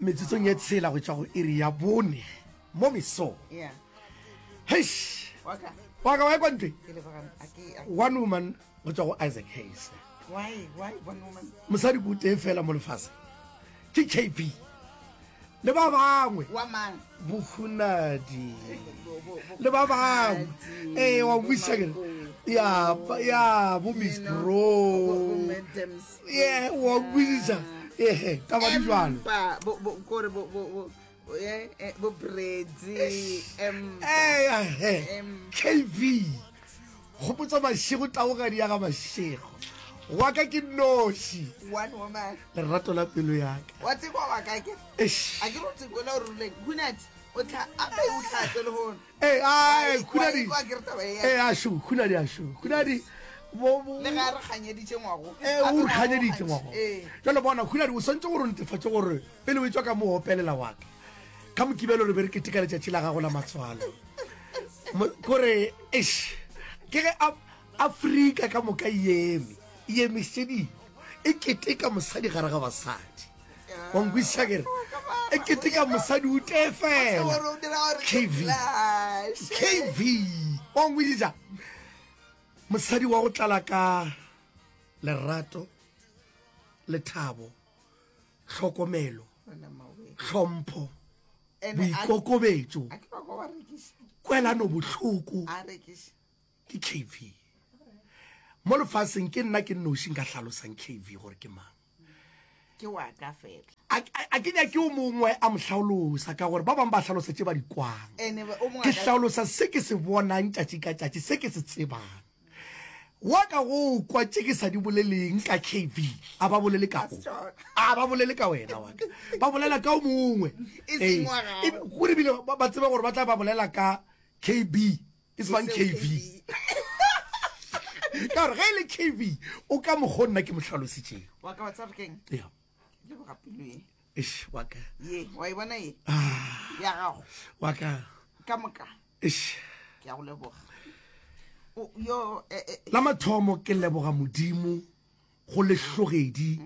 Metsotsong ye tshela go tšwa go iri ya bone mo mesong. Yeah. Heish. Waka. Waka wa kwa ntwe. Ke leboga a ke a- One woman go tšwa go Isaac Hayes. Why why one woman? Mosadi ko tee fela mo lefaseng. Ke KB. Le ba bangwe. Wa mang? Bohunadi. Bo- bo- bo- Le ba bangwe. Bohunadi, Eh wa bo buisa ke. Makoti. Ya ya bo Miss You know, Bro. bo- bo Madam Speaker. Yeah, wa buisa. Eh, taba di jwalo. Empa, bo bo kore bo bo bo eh, eh, bo Brady empa. Eh, eh, Empa. KV. Gopotsa Mashego taogadi ya ga Mashego. Wa ka ke noši. One woman. Lerato la pelo ya ka. Wa tseba wa ka ke. Eish. A ke re o tsekwela o ruleng. Hunati o tla a pe o tlatse le hono. Eh, ai, Khunadi. Wa ke re taba e ya. Eh, ashu, Khunadi ashu. Khunadi bo bo Le ga re kganyeditše ngwago. Eh, o re kganyeditše ngwago. Eh. Jalo bona Khunadi o swantse gore o netefatše gore pele o etswa ka mo opelela wa ka. Ka mokibelo re be re keteka letšatši la gago la matswalo. Kore eish ke ge Afrika ka moka e eme, e emišedile, e keteka mosadi gare ga basadi. Wa nkwešiša ke re? E keteka mosadi o tee fela. KV. KV. Wa nkwešiša? Mosadi wa go tlala ka lerato, lethabo, tlhokomelo, tlhompho, boikokobetšo, kwelanobohloko ke KV. Mo lefaseng ke nna ke nnoši nka hlalosang KV gore ke mang. Ke wa ka fela. A ke nyake o mongwe a mo hlaolosa ka gore ba bangwe ba hlalosa tše ba di kwang. Ke hlaolosa se ke se bonang tšatši ka tšatši, se ke se tsebang. Wa ka go kwa tše ke sa di boleleng ka KV, a ba bolele ka go. A ba bolele ka wena wa ka. Ba bolela ka o mongwe. E seng wa gago. Ee, gore ebile ba tsebe gore ba tla ba bolela ka KB, e se bang KV. Ka gore ge e le KV, o ka mokgo nna ke mo hlalositšego. Wa ka wa tseba gore ke'ng? Ya. Leboga pelo ye. Eish, wa ka. Ye, wa e bona ye? Ah. Ya gago. Wa ka. Ka moka. Eish. Ke a go leboga. O, yo, eh, eh, La mathomo ke leboga Modimo go lehlogedi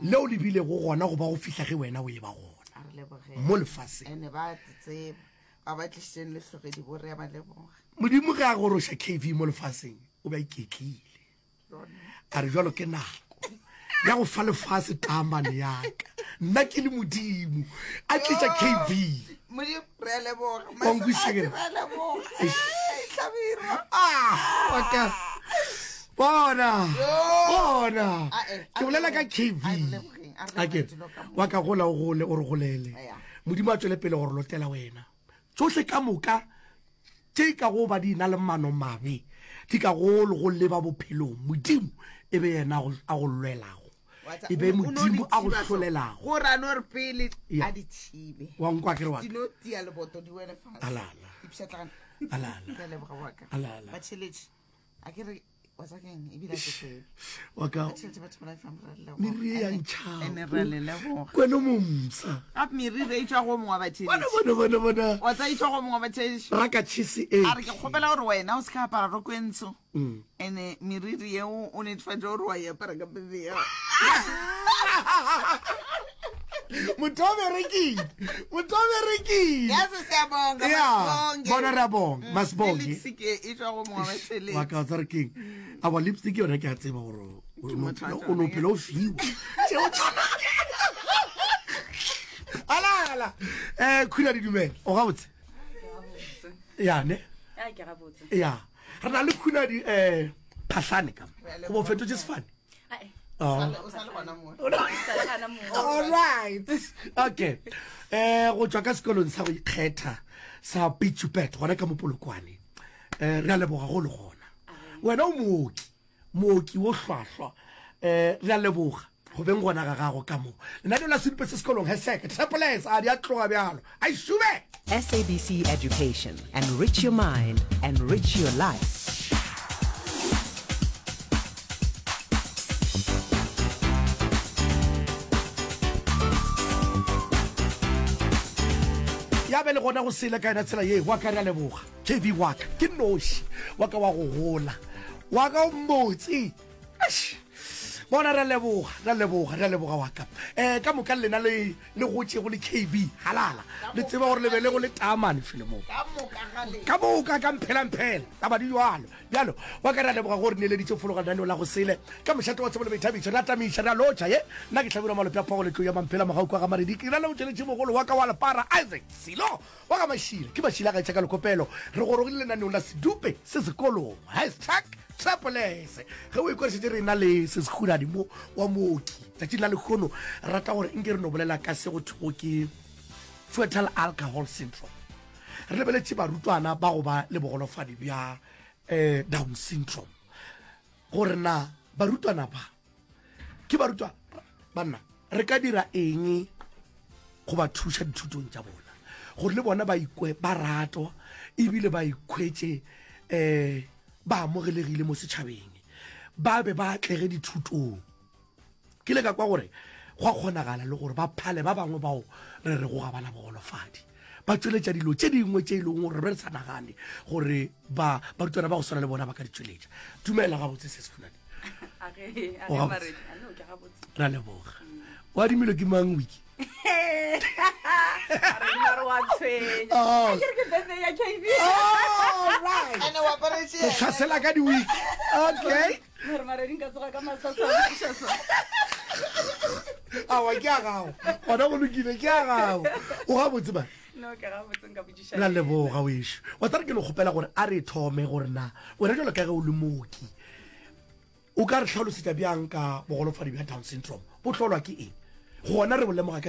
leo le bilego gona go ba go fihla ge wena o e ba gona a re leboge. mo lefaseng. Ene ba tseba ba ba tlišitšeng lehlogedi bo re a ba leboga. Modimo ge a goroša KV mo lefaseng o be a iketlile. A re jalo ke nako ya go fa lefase taamane ya ka nna ke le modimo a tliša kv modimo re a leboga Wa nkwešiša ke re? re a leboga hlabirwa ah wa ka bona bona Ah, eh, ke bolela ka kv a re lebogeng, a re a ke lebogeng dilo ka moka. wa ka gola o gole o re golele Aya. modimo a tswele pele gore lotela wena tsohle ka moka Tše ka go ba di na le mano-mabe, di ka go le go leba bophelong, Modimo e be yena a go lwelago, e be Modimo a go hlolelago. Go ra no re pele Ya. a di thibe. Wa nkwa ke re wa ka? Di no tia leboto di wele fase. Alala. Di pšhatlagane. Alala. Ke a leboga wa ka. Alala. Batheeletši, a ke re wa tsa keng ebile a ke tsebe. Wa ka Batheeletši batho ba life re a leboga. meriri e ya Ene- ntšhao. ene re a le leboga. Kweno momsa. Gape meriri e tšwa go mongwe wa Bona batheeletši. bona bona bona. Wa tsa e tšwa go mongwe wa batheeletši. Raka cheese e. A re ke kgopela gore wena o se ka apara roko e ntsho. Mm. Ene meriri yeo o netefatše gore wa e apara ka pele ya. Motho o berekile. Motho o berekile. Ya se siyabonga Ya, masibonge. bona re a bonga, Mm, masibonge. le lipstick e e tšwa go mongwe wa batheeletši. Wa ka tsa re keng? Awa lipstick yona ke a tseba gore o no motho wa phela- tšona, o no ya. phela o fiwa. Tšeo tšona. Ala ala. Eh khula di dumela. O gabotse? Ya ne? Ya ke gabotse. Ya. Re na le khula di eh phahlane ka. Go bo fetotse sefane. Oh. All right. Okay. Eh go tswa ka sekolong sa go ikgetha sa Pitchupet gona ka mopolokwane. Eh re a leboga go le gona. Wena o mooki, mooki wo hlwahlwa. Eh re a leboga go beng gona ga gago ka mo. Lenaneo la Sedupe se sekolong hashtag triple S a di a tloga bjalo. A šube. SABC Education, enrich your mind, enrich your life. Ya be le gona go sele ka yona tsela ye wa ka re a leboga kv wa ka ke noši wa ka wa go gola wa ka o mmotse. Eish. Bona re a leboga, re a leboga, re a leboga wa ka. Eh, ka moka lena le le gotšego le KB, halala. Le tseba gore le be le go le taamane fele mo. Ka moka ga lena. Ka moka ka mphela mphela, taba di jwalo. Bjalo, wa ka re a leboga gore neeleditše fologa lenaneo la go sele. Ka mošate wa tsebo le boithabišo, re a tamiša, re a lotšha ye. Nna ke Hlabirwa Malope a Phogo le Tlou ya Mamphela Mogau kwa ga Maredi. Ke na le motšweletši mogolo wa ka wa lepara Isaac Silo wa ga Mašila. Ke Mašila ga etša ka lekopelo. Re gorogile lenaneong la Sedupe se sekolong. Hashtag Trapolese. Ge o ekwa re šetše re na le Seskhunadi mo wa mooki. Tšatšing la lehono re rata gore nke re no bolela ka se go thwego ke Fetal Alcohol Syndrome. Re lebeletše barutwana ba go ba le bogolofadi bja um Down syndrome. Gore na barutwana ba ke barutwa banna re ka dira eng go ba thuša dithutong tša bona gore le bona ba ikwe ba ratwa ebile ba ikhwetše um ba amogelegile mo setšhabeng ba be ba atlege dithutong ke le ka kwa gore go a kgonagala le gore ba phale ba bangwe bao re rego ga bana bogolofadi ba tšweletša dilo tše dingwe tše e leng gore re re sa nagane gore ba barutwana ba go swana le bona ba ka di tšweletša. Dumela gabotse se sekhunane. O gabotse. Ra leboga. O adimilwe ke mang wiki? Oh. All right. O tlhasela ka di-wiki. Okay. Awa ke a gago. Gona go lokile ke a gago. O gabotse ba. No, ke gabotse nka botšiša. Ra leboga wešo. Wa tsare ke no kgopela gore a re thome gore na wena jalo ka ge o le mooki o ka re hlalosetša bjang ka bogolofadi bja Down syndrome bo hlolwa ke eng gona re bo lemoga ka.